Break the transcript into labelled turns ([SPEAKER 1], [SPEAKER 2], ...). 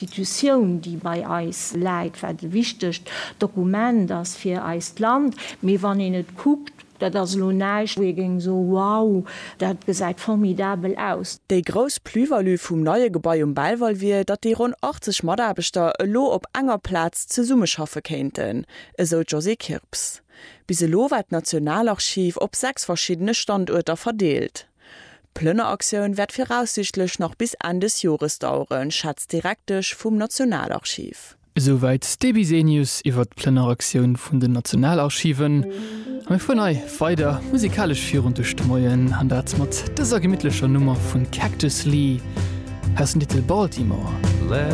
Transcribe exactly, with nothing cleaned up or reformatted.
[SPEAKER 1] Institutioun, déi bei eis läit, wat e wichtegt Dokument ass fir eist Land. Mee wann een et kuckt, dat ass elo näischt, wou ee géing soen, Wow, dat gesäit formidabel aus.
[SPEAKER 2] Déi grouss Plus-value vum neie Gebai um Belval wier, datt déi ronn achtzeg Mataarbechter elo op enger Plaz zesummeschaffe kéinten, esou d'Josée Kirps. Bis elo war d'Nationalarchiv op sechs verschiddene Standuerter verdeelt. D'Plënneraktioun wäert viraussiichtlech nach bis Enn des Jores daueren, schätzt d'Direktesch vum Nationalarchiv.
[SPEAKER 3] Esouwäit d'Deby Bisenius iwwer d'Plënneraktioun vun den Nationalarchiven. A mir fueren hei weider musikalesch virun duerch de Moien, an dat mat dëser gemittlecher Nummer vun Cactus Lee, aus dem Titel Baltimore.